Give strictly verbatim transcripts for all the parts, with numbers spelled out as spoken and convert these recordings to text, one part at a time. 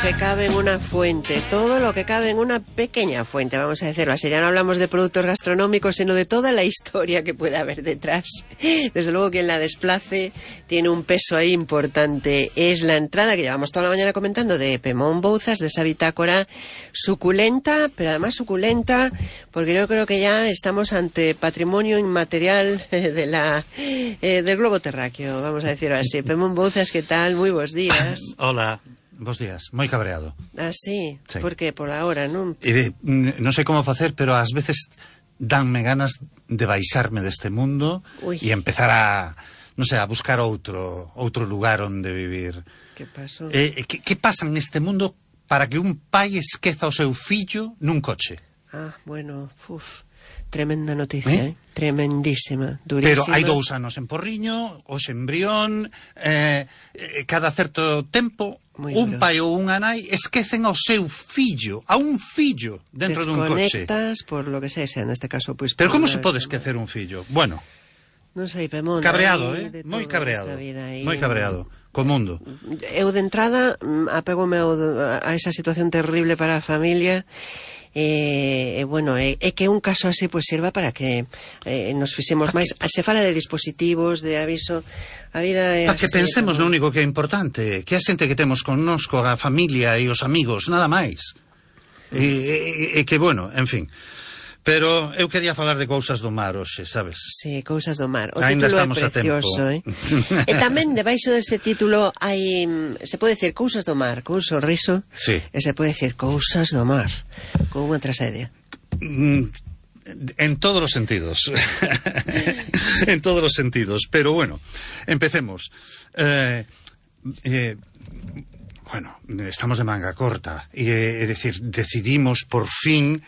que cabe en una fuente, todo lo que cabe en una pequeña fuente, vamos a decirlo así. Ya no hablamos de productos gastronómicos, sino de toda la historia que puede haber detrás. Desde luego, quien la desplace tiene un peso ahí importante. Es la entrada que llevamos toda la mañana comentando de Pemón Bouzas, de esa bitácora suculenta, pero además suculenta, porque yo creo que ya estamos ante patrimonio inmaterial de la eh, del globo terráqueo, vamos a decirlo así. Pemón Bouzas, ¿qué tal? Muy buenos días. Hola. Bos días, moi cabreado. Ah, sí? Sí. Por que? Pola hora, non? E, non sei como facer, pero ás veces danme ganas de baixarme deste mundo e empezar a, non sei, a buscar outro outro lugar onde vivir. Que pasou? Eh, que, que pasa neste mundo para que un pai esqueza o seu fillo nun coche? Ah, bueno, uf, tremenda noticia, eh? eh? Tremendísima, durísima. Pero hai dous anos en Porriño, os embrión, eh, cada certo tempo, Muy un duro. Pai ou unha nai esquecen ao seu fillo, a un fillo dentro dun coche. Desconectas por lo que sea, neste caso, pois... Pero como se pode esquecer un fillo? Bueno, non sei, Pemón, cabreado, eh? Moi cabreado, moi cabreado, co mundo. Eu de entrada apego-me a esa situación terrible para a familia. E, eh, bueno, é eh, eh, que un caso así pues sirva para que eh, nos fixemos máis. Se fala de dispositivos, de aviso. A vida é para así, que pensemos como... no único que é importante, que a xente que temos connosco, a familia e os amigos, nada máis. E, e, e que, bueno, en fin. Pero eu quería falar de cousas do mar hoxe, sabes? Sí, cousas do mar. O Ainda título estamos é precioso, a tempo. Eh? E tamén debaixo dese título hai, se pode decir cousas do mar, con un sorriso. Sí. E se pode decir cousas do mar, con unha tragedia. Mm, en todos os sentidos. En todos os sentidos. Pero bueno, empecemos. Eh, eh, bueno, estamos de manga corta. E, é dicir, decidimos por fin...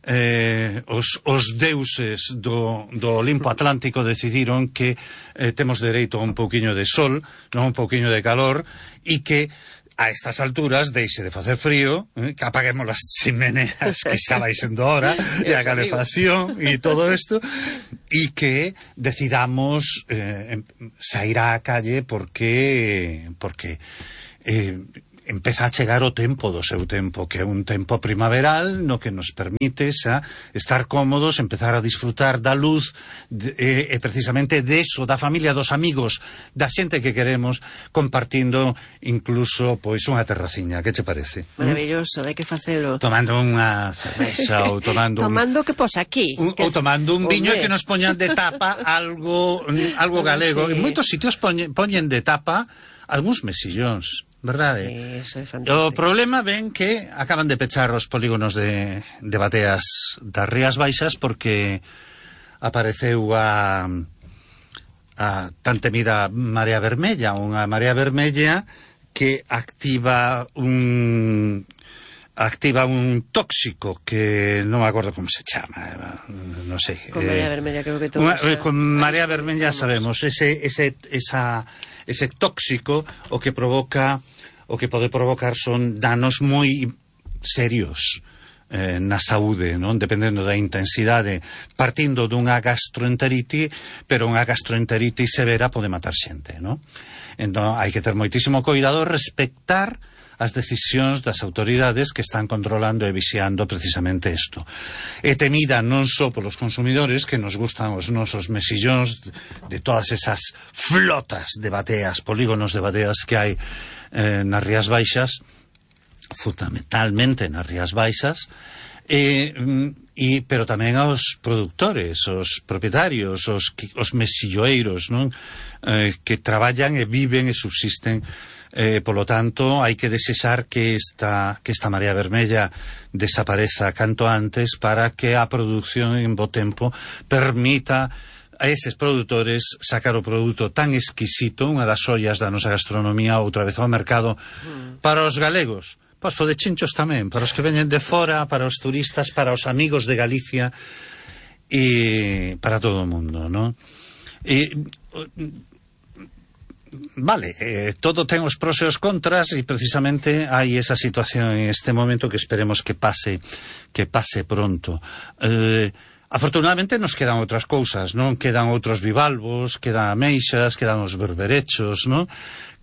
Eh, os, os deuses do, do Olimpo Atlántico decidiron que eh, temos dereito a un pouquiño de sol, non un pouquiño de calor, e que a estas alturas deixe de facer frío, eh, que apaguemos as chimeneas que xa vai sendo hora, e a calefacción e todo isto, e que decidamos eh, sair á calle porque porque eh, empeza a chegar o tempo do seu tempo, que é un tempo primaveral no que nos permite xa estar cómodos, empezar a disfrutar da luz de, e, e precisamente deso, da familia, dos amigos, da xente que queremos, compartindo incluso pois unha terraciña. Que che parece? Maravilloso, hai que facelo. Tomando unha cerveza ou tomando tomando un, que pos aquí. Un, que... Ou tomando un viño e que nos poñan de tapa algo algo galego. Sí. En moitos sitios poñen, poñen de tapa algúns mesillóns. Verdade? Sí, eso é fantástico. O problema ven que acaban de pechar os polígonos de, de bateas das Rías Baixas porque apareceu a, a tan temida marea vermella, unha marea vermella que activa un activa un tóxico que non me acordo como se chama, non sei. Con marea eh, vermella creo que todos. Una, con marea vermella sabemos ese ese esa ese tóxico o que provoca o que pode provocar son danos moi serios eh, na saúde, non? Dependendo da intensidade, partindo dunha gastroenterite, pero unha gastroenterite severa pode matar xente, non? Entón hai que ter moitísimo cuidado, respectar as decisións das autoridades que están controlando e vixiando precisamente isto. É temida non só polos consumidores, que nos gustan os nosos mesillóns de todas esas flotas de bateas, polígonos de bateas que hai eh, nas Rías Baixas, fundamentalmente nas Rías Baixas, e, e, pero tamén aos produtores, os propietarios, os, os mesilloeiros, non? Eh, que traballan e viven e subsisten. Eh, polo tanto, hai que desexar que esta, que esta marea vermella desapareza canto antes para que a produción en bo tempo permita a eses produtores sacar o produto tan exquisito, unha das ollas da nosa gastronomía, outra vez ao mercado, mm. para os galegos, pois de chinchos tamén, para os que veñen de fora, para os turistas, para os amigos de Galicia e para todo o mundo, non? E... Vale, eh, todo ten os pros e os contras e precisamente hai esa situación en este momento que esperemos que pase que pase pronto. Eh, afortunadamente nos quedan outras cousas, non? Quedan outros bivalvos, quedan ameixas, quedan os berberechos, non?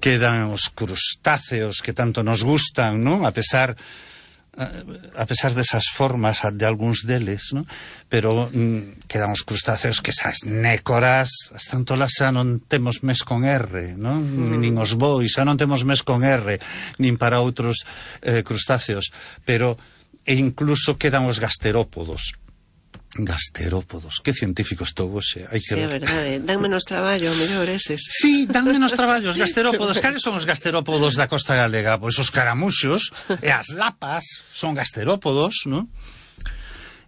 quedan os crustáceos que tanto nos gustan, non? A pesar a pesar desas formas de algúns deles, non? Pero mm, quedan os crustáceos que esas nécoras, as tantolas xa non temos mes con R, non? Mm. Nin os bois xa non temos mes con R, nin para outros eh, crustáceos, pero e incluso quedan os gasterópodos. Gasterópodos, que científico estou hoxe, hai que sí, ver. Sí, é verdade, dan menos traballo, mellor eses. Sí, dan menos traballo os gasterópodos. Cales son os gasterópodos da costa galega? Pois os caramuxos e as lapas son gasterópodos, non?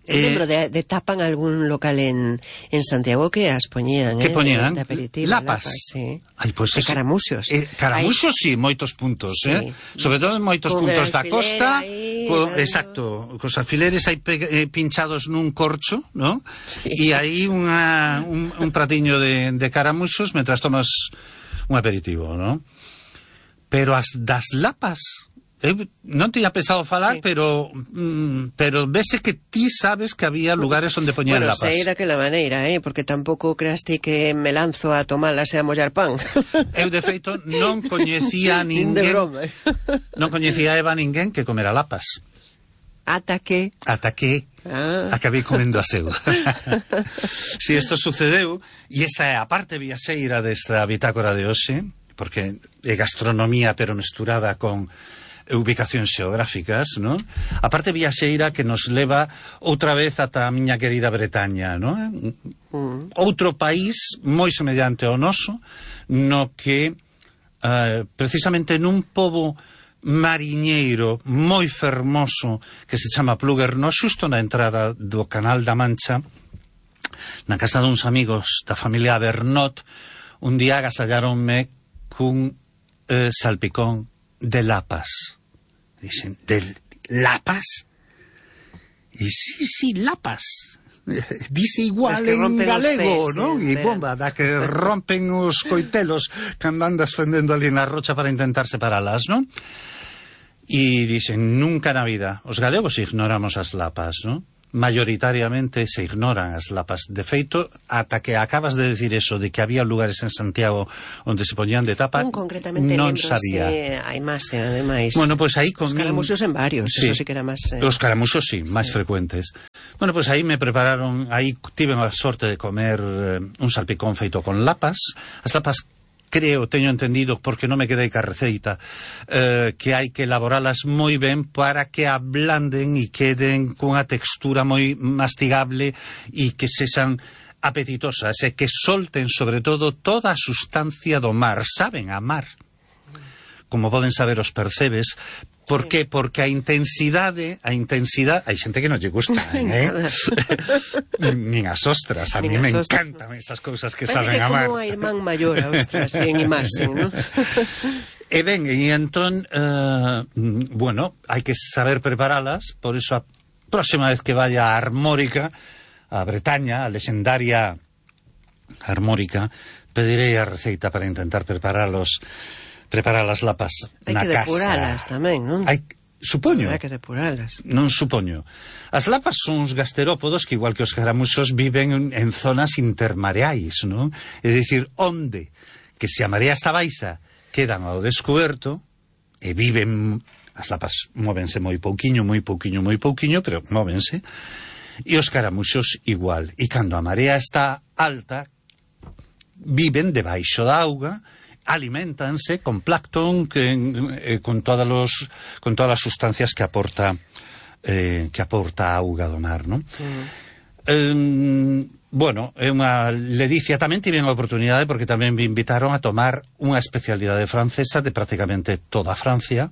Eu lembro de, de tapan algún local en, en Santiago que as poñían, que eh, poñían? de aperitivo, lapas. lapas, sí. Ai, pois e eso, caramuxos. Eh, caramuxos, sí, moitos puntos, sí. eh? Sobre todo en moitos con puntos da costa. Ahí, co, dando... Exacto, cos alfileres aí pe, eh, pinchados nun corcho, ¿no? Sí. E aí unha, un, un pratiño de, de caramuxos mentras tomas un aperitivo, ¿no? Pero as das lapas... Eu non tiña pensado falar, sí. pero mm, pero vese que ti sabes que había lugares onde poñían bueno, lapas. Bueno, sei daquela maneira, eh, porque tampouco creaste que me lanzo a tomalas e a mollar pan. Eu, de feito, non coñecía ninguén... non coñecía a Eva ninguén que comera lapas. Ata que... Ata que ah. acabei comendo a seu. Si isto sucedeu, e esta é a parte viaxeira desta bitácora de hoxe, porque é gastronomía pero mesturada con ubicacións xeográficas, ¿no? A parte viaxeira que nos leva outra vez ata a miña querida Bretaña, ¿no? Mm. Outro país moi semellante ao noso, no que uh, precisamente nun pobo mariñeiro moi fermoso que se chama Pluguerno, xusto na entrada do Canal da Mancha, na casa duns amigos da familia Bernot, un día agasallaronme cun eh, salpicón de lapas. Dicen, ¿de lapas? Y sí, sí, lapas. Dice igual en galego, ¿no? E bomba, da que rompen os coitelos cando andas fendendo ali na rocha para intentar separalas, ¿no? E dicen, nunca na vida. Os galegos ignoramos as lapas, ¿no? Mayoritariamente se ignoran as lapas. De feito, ata que acabas de decir eso, de que había lugares en Santiago onde se poñían de tapa, non, concretamente non sabía. A imaxe, ademais. Bueno, pois pues aí con... Os caramuxos en varios, sí. Eso sí que era máis... Eh... Os caramuxos, sí, máis sí. frecuentes. Bueno, pois pues aí me prepararon, aí tive a sorte de comer eh, un salpicón feito con lapas. As lapas, creo, teño entendido, porque non me quedei ca receita, eh, que hai que elaboralas moi ben para que ablanden e queden cunha textura moi mastigable e que sexan apetitosas e que solten, sobre todo, toda a sustancia do mar. Saben a mar, como poden saber os percebes. Por sí. que? Porque a intensidade, a intensidade, hai xente que non lle gusta, eh? Nin as ostras, a mí me ostras, encantan no. esas cousas que Parece saben que a mar. como a irmán maior a ostras, en imaxen, ¿no? E ben, e entón, uh, bueno, hai que saber preparalas, por iso a próxima vez que vaya a Armórica, a Bretaña, a lexendaria Armórica, pedirei a receita para intentar preparalos preparar as lapas hai na casa. Hai que depuralas tamén, non? Hai, supoño. Hai que depuralas. Non supoño. As lapas son uns gasterópodos que, igual que os caramuxos, viven en, en zonas intermareais, non? É dicir, onde que se a marea está baixa quedan ao descoberto e viven... As lapas móvense moi pouquiño, moi pouquiño, moi pouquiño, pero móvense. E os caramuxos igual. E cando a marea está alta, viven debaixo da auga, aliméntanse con plancton, que, eh, con todas los, con todas as sustancias que aporta eh, que aporta a auga do mar, non? Mm. Eh, bueno, é unha ledicia. Tamén tive a oportunidade, porque tamén me invitaron a tomar unha especialidade francesa de prácticamente toda Francia,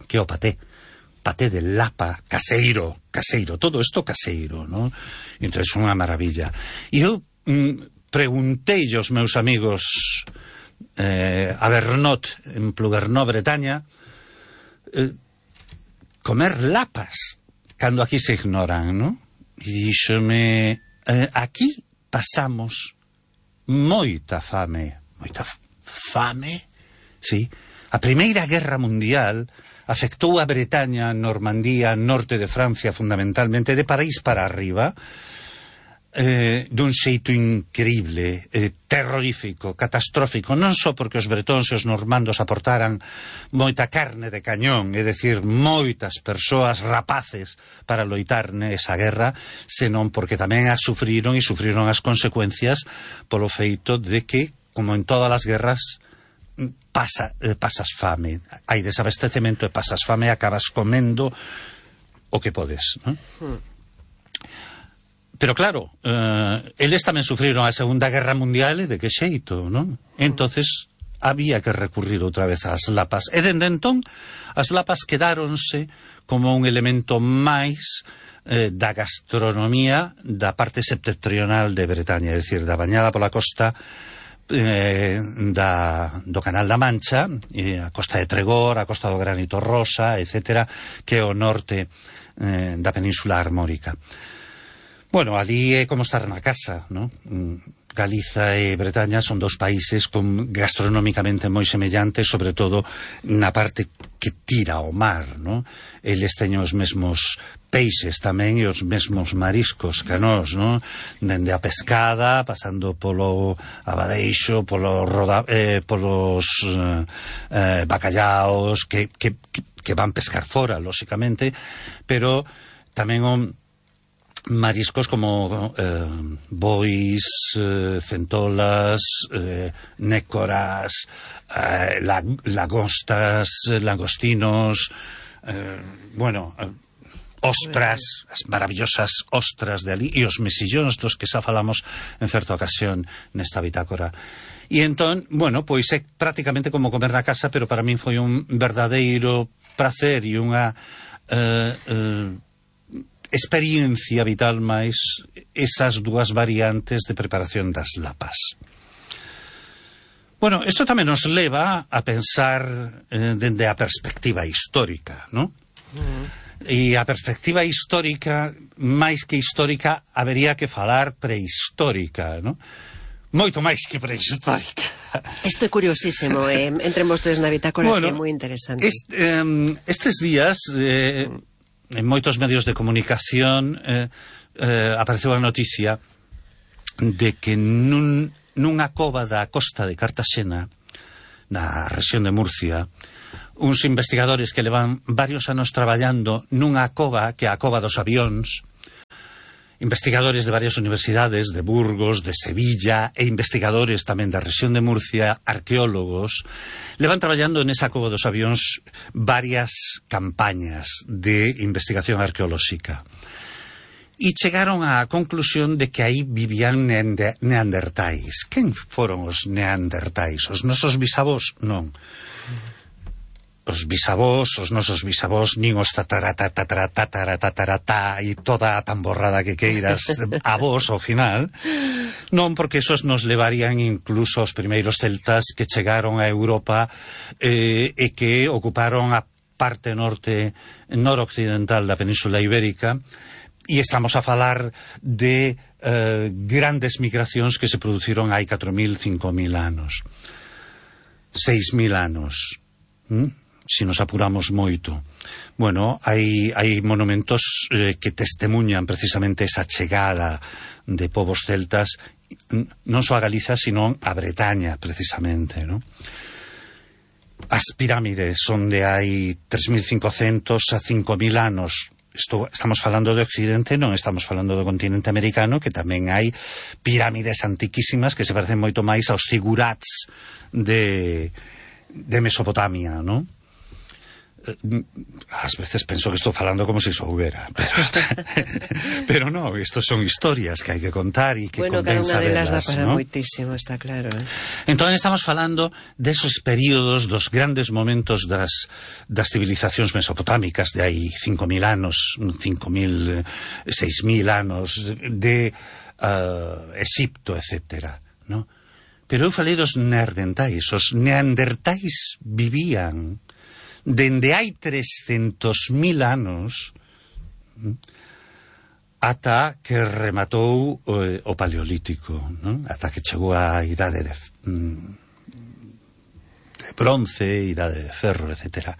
que é o paté. Paté de lapa, caseiro, caseiro, todo isto caseiro, non? Entón, é unha maravilla. E eu mm, preguntei aos meus amigos Eh, a Bernot, en Pluguerno, Bretaña, eh, comer lapas cando aquí se ignoran, ¿no? E díxome, eh, aquí pasamos moita fame, moita fame, sí. A Primeira Guerra Mundial afectou a Bretaña, Normandía, norte de Francia, fundamentalmente, de París para arriba. eh, dun xeito increíble, eh, terrorífico, catastrófico, non só porque os bretóns e os normandos aportaran moita carne de cañón, é dicir, moitas persoas rapaces para loitar nesa guerra, senón porque tamén as sufriron e sufriron as consecuencias polo feito de que, como en todas as guerras, pasa, eh, pasas fame, hai desabastecemento e pasas fame e acabas comendo o que podes, non? Hmm. Pero claro, eh, eles tamén sufriron a Segunda Guerra Mundial e de que xeito, non? Entonces había que recurrir outra vez ás lapas. E dende entón, as lapas quedáronse como un elemento máis eh, da gastronomía da parte septentrional de Bretaña, é dicir, da bañada pola costa eh, da, do Canal da Mancha, e a costa de Tregor, a costa do Granito Rosa, etcétera, que é o norte eh, da Península Armórica. Bueno, ali é como estar na casa, ¿no? Galiza e Bretaña son dos países con gastronómicamente moi semellantes, sobre todo na parte que tira ao mar, ¿no? Eles teñen os mesmos peixes tamén e os mesmos mariscos que nós, ¿no? Dende a pescada, pasando polo abadeixo, polo roda, eh, polos eh, bacallaos que, que, que van pescar fora, lóxicamente, pero tamén o mariscos como eh, bois, eh, centolas, eh, nécoras, eh, lag lagostas, langostinos, eh, bueno, eh, ostras, as maravillosas ostras de ali, e os mesillóns dos que xa falamos en certa ocasión nesta bitácora. E entón, bueno, pois é prácticamente como comer na casa, pero para min foi un verdadeiro prazer e unha eh, eh, experiencia vital máis esas dúas variantes de preparación das lapas. Bueno, isto tamén nos leva a pensar eh, dende a perspectiva histórica, ¿no? Mm. E a perspectiva histórica, máis que histórica, habería que falar prehistórica, ¿no? Moito máis que prehistórica. Isto é curiosísimo, eh? Entremos todos na bitácora, bueno, que é moi interesante. Est, eh, estes días... Eh, en moitos medios de comunicación eh, eh, apareceu a noticia de que nun, nunha cova da costa de Cartaxena, na rexión de Murcia, uns investigadores que levan varios anos traballando nunha cova que é a cova dos avións, investigadores de varias universidades, de Burgos, de Sevilla, e investigadores tamén da rexión de Murcia, arqueólogos, levan traballando nesa cova dos avións varias campañas de investigación arqueolóxica. E chegaron á conclusión de que aí vivían neandertais. Quen foron os neandertais? Os nosos bisavós? Non. Os bisavós, os nosos bisavós, nin os tataratataratataratatá e toda a tamborrada que queiras a vos ao final, non, porque esos nos levarían incluso aos primeiros celtas que chegaron a Europa eh, e que ocuparon a parte norte noroccidental da Península Ibérica, e estamos a falar de eh, grandes migracións que se produciron hai catro mil, cinco mil anos, seis mil anos. ¿Mm? Si nos apuramos moito. Bueno, hai, hai monumentos eh, que testemunhan precisamente esa chegada de povos celtas non só a Galiza, sino a Bretaña, precisamente, ¿no? As pirámides son de hai tres mil cincocentos a cinco mil anos. Isto, estamos falando de Occidente, non estamos falando do continente americano, que tamén hai pirámides antiquísimas que se parecen moito máis aos zigurats de, de Mesopotamia, ¿no? Ás veces penso que estou falando como se soubera, pero, pero no, estos son historias que hai que contar e que bueno, convén saberlas, cada unha delas dá para ¿no? moitísimo, está claro, eh? Entón estamos falando desos períodos, dos grandes momentos das, das civilizacións mesopotámicas de hai cinco mil anos, cinco mil, seis mil anos, de uh, Egipto, etcétera, ¿no? Pero eu falei dos neandertais. Os neandertais vivían dende hai trescentos mil anos ata que rematou o, o Paleolítico, non? Ata que chegou a idade de, de bronce, idade de ferro, etcétera.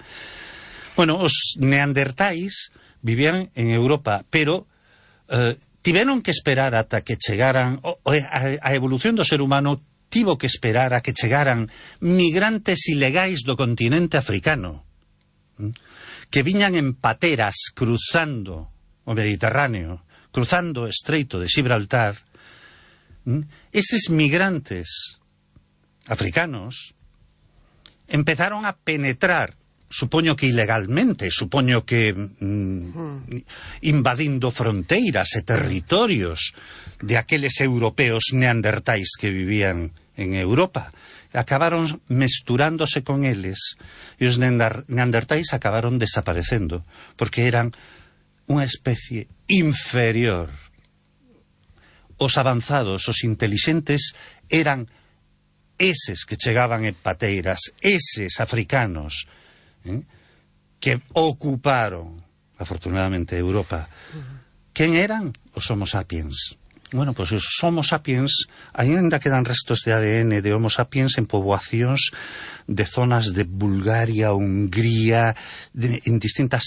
Bueno, os neandertais vivían en Europa, pero eh, tiveron que esperar ata que chegaran o, o, a, a evolución do ser humano tivo que esperar a que chegaran migrantes ilegais do continente africano, que viñan en pateras cruzando o Mediterráneo, cruzando o Estreito de Gibraltar. Eses migrantes africanos empezaron a penetrar, supoño que ilegalmente, supoño que mm, invadindo fronteiras e territorios de aqueles europeos neandertais que vivían en Europa. Acabaron mesturándose con eles e os neandertais acabaron desaparecendo porque eran unha especie inferior. Os avanzados, os intelixentes eran eses que chegaban en pateiras, eses africanos, ¿eh? que ocuparon, afortunadamente, Europa. Quen eran? Os Homo sapiens. Bueno, pois pues os Homo sapiens, ainda quedan restos de A D N de Homo sapiens en poboacións de zonas de Bulgaria, Hungría, de, en distintas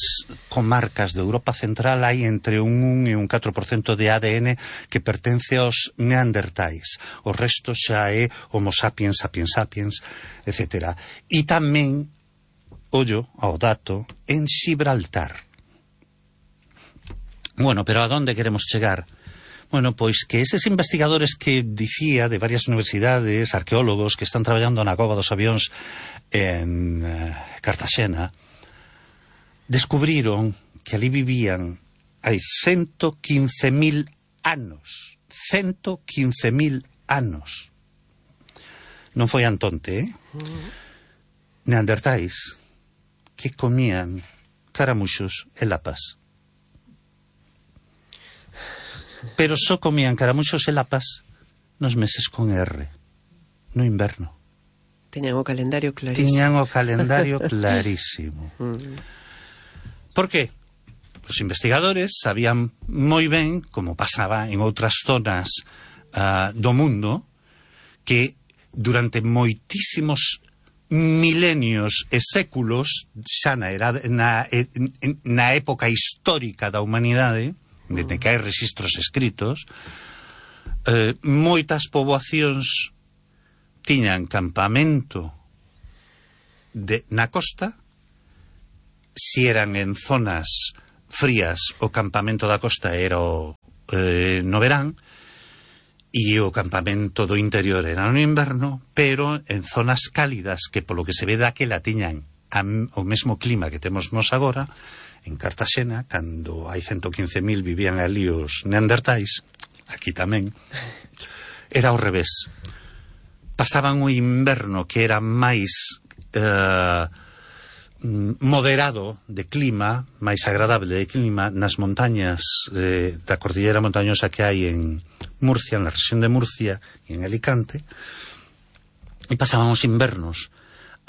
comarcas de Europa Central hai entre un un e un catro por cento de A D N que pertence aos neandertais. O resto xa é Homo sapiens, sapiens sapiens, etcétera. E tamén, ollo ao dato, en Gibraltar. Bueno, pero a donde queremos chegar? Bueno, pois que eses investigadores que dicía de varias universidades, arqueólogos que están traballando na Cova dos Avións en uh, Cartaxena, descubriron que ali vivían hai ciento quince mil anos. ciento quince mil anos. Non foi Antonte, eh? Neandertais que comían caramuxos e lapas. Pero só comían caramuxos e lapas nos meses con R, no inverno. Tiñan o calendario clarísimo. Tiñan o calendario clarísimo. Por qué? Os investigadores sabían moi ben, como pasaba en outras zonas uh, do mundo, que durante moitísimos milenios e séculos, xa na, era, na, na época histórica da humanidade, desde que hai registros escritos, eh, moitas poboacións tiñan campamento de, na costa. Si eran en zonas frías, o campamento da costa era o, eh, no verán, e o campamento do interior era no inverno, pero en zonas cálidas que polo que se ve daquela tiñan a, o mesmo clima que temos nos agora. En Cartaxena, cando hai ciento quince mil vivían ali os neandertais, aquí tamén, era ao revés. Pasaban o inverno que era máis eh, moderado de clima, máis agradable de clima, nas montañas eh, da cordillera montañosa que hai en Murcia, na rexión de Murcia e en Alicante, e pasaban os invernos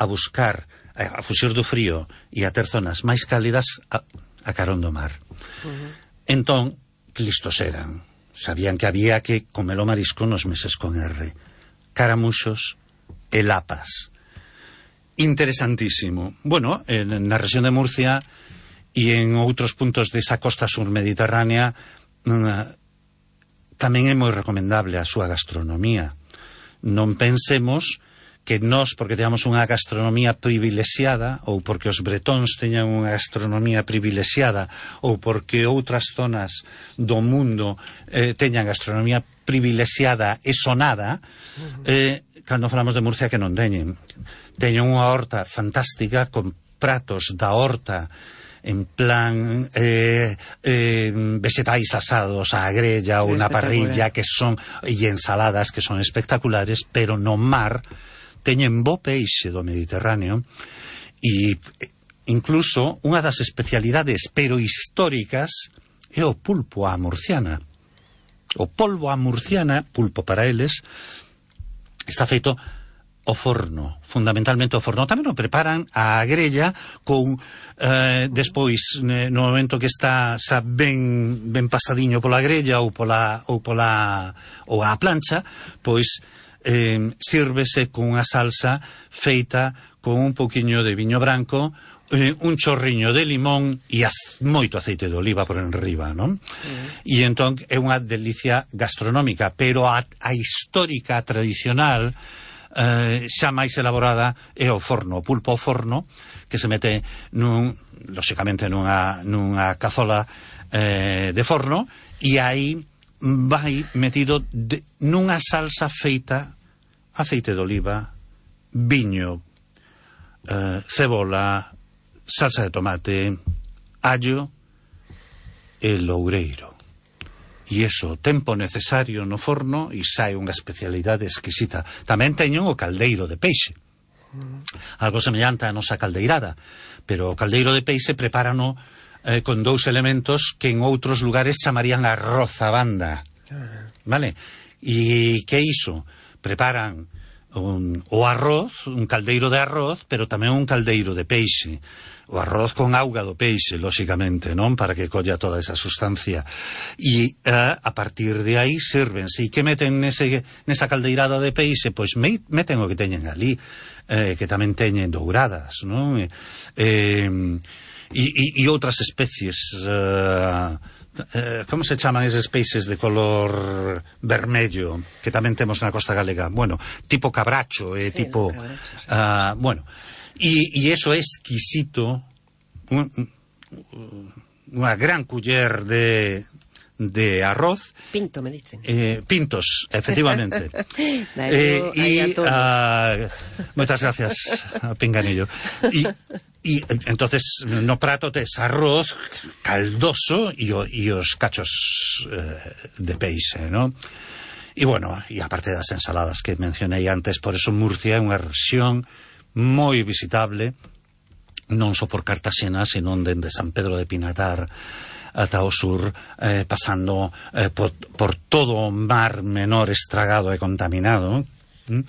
a buscar, a fuxir do frío e a ter zonas máis cálidas a, a carón do mar. Uh-huh. Entón, que listos eran. Sabían que había que comer o marisco nos meses con R. Caramuxos e lapas. Interesantísimo. Bueno, en, na rexión de Murcia e en outros puntos desa costa surmediterránea uh, tamén é moi recomendable a súa gastronomía. Non pensemos que nós, porque teñamos unha gastronomía privilexiada, ou porque os bretóns teñan unha gastronomía privilexiada, ou porque outras zonas do mundo eh, teñan gastronomía privilexiada e sonada, eh, cando falamos de Murcia que non teñen. Teñen unha horta fantástica con pratos da horta en plan eh, eh, vegetais asados á grella ou na parrilla que son, e ensaladas que son espectaculares, pero no mar teñen bo peixe do Mediterráneo e incluso unha das especialidades pero históricas é o pulpo á murciana. O polvo á murciana, pulpo para eles, está feito ao forno, fundamentalmente ao forno. Tamén o preparan á grella con eh, despois no momento que está xa ben ben pasadiño pola grella ou pola ou pola ou á plancha, pois eh, sírvese con unha salsa feita con un poquinho de viño branco eh, un chorriño de limón e az, moito aceite de oliva por enriba, non? Mm. E entón é unha delicia gastronómica, pero a, a histórica, tradicional, eh, xa máis elaborada é o forno, o pulpo ao forno, que se mete nun, lóxicamente nunha, nunha cazola eh, de forno, e aí vai metido de, nunha salsa feita aceite de oliva, viño, eh, cebola, salsa de tomate, allo e loureiro. E iso, tempo necesario no forno e sai unha especialidade exquisita. Tamén teñen o caldeiro de peixe. Algo semellante á nosa caldeirada, pero o caldeiro de peixe prepárano eh, con dous elementos que en outros lugares chamarían arroz a banda. Vale? E que iso? Preparan un, o arroz, un caldeiro de arroz, pero tamén un caldeiro de peixe. O arroz con auga do peixe, lóxicamente, non? Para que colla toda esa sustancia. E uh, a partir de aí sírvense. E que meten nese, nesa caldeirada de peixe? Pois me, meten o que teñen ali, eh, que tamén teñen douradas, non? Eh, e, e, e outras especies... Uh, eh, como se chaman eses peixes de color vermello que tamén temos na costa galega? Bueno, tipo cabracho, eh, sí, tipo... Cabracho, sí, uh, bueno... E, e eso é exquisito, un, unha gran culler de, de arroz. Pinto, me dicen. Eh, pintos, efectivamente. eh, e, uh, moitas gracias, Pinganillo. E, e entonces no prato tes arroz caldoso e, o, e os cachos eh, de peixe, non? E bueno, e aparte das ensaladas que mencionei antes, por eso Murcia é unha rexión moi visitable, non só por Cartaxena, senón dende San Pedro de Pinatar ata o sur, eh, pasando eh, por, por todo o mar menor estragado e contaminado, ¿m?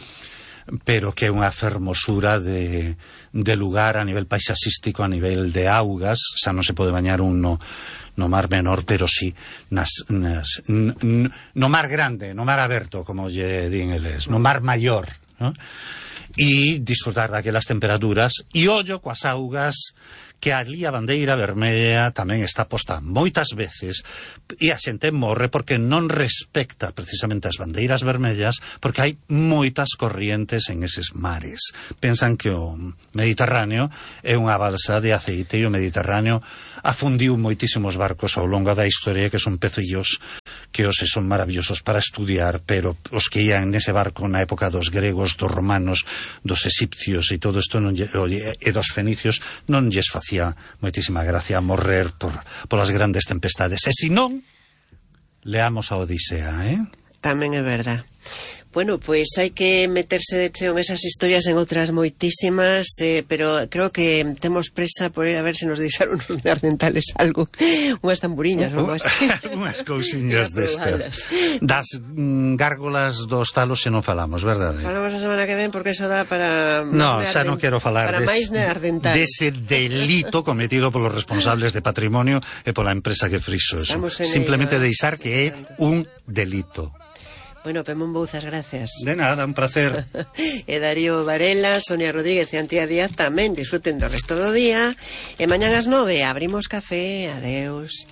Pero que é unha fermosura de, de lugar a nivel paisaxístico, a nivel de augas. Xa non se pode bañar un no, no mar menor, pero sí nas, nas, n, n, no mar grande, no mar aberto, como lle din eles, no mar maior, ¿no? E disfrutar daquelas temperaturas e ollo coas augas, que ali a bandeira vermella tamén está posta moitas veces e a xente morre porque non respecta precisamente as bandeiras vermellas, porque hai moitas corrientes en eses mares. Pensan que o Mediterráneo é unha balsa de aceite e o Mediterráneo afundiu moitísimos barcos ao longo da historia, que son pecillos que hoxe son maravillosos para estudiar, pero os que ian nese barco na época dos gregos, dos romanos, dos egipcios e todo isto non lle, e dos fenicios non lles facía moitísima gracia morrer por, por as grandes tempestades. E se non, leamos a Odisea, eh? Tamén é verdad. Bueno, pois pues hai que meterse de cheo en esas historias, en outras moitísimas, eh, pero creo que temos presa por ir a ver se nos deixaron os neandertales algo, unhas tamburiñas ou algo así. Unhas cousiñas destas. Das mm, gárgolas dos talos se non falamos, verdade? Falamos a semana que ven porque eso dá para... No, xa non quero falar para des, máis neandertales. dese delito cometido polos responsables de patrimonio e pola empresa que frixo eso. Simplemente ello, deixar que é un delito. Bueno, Pemón Bouzas, gracias. De nada, un placer. E Darío Varela, Sonia Rodríguez e Antía Díaz tamén disfruten do resto do día. E mañán ás nove abrimos café. Adeus.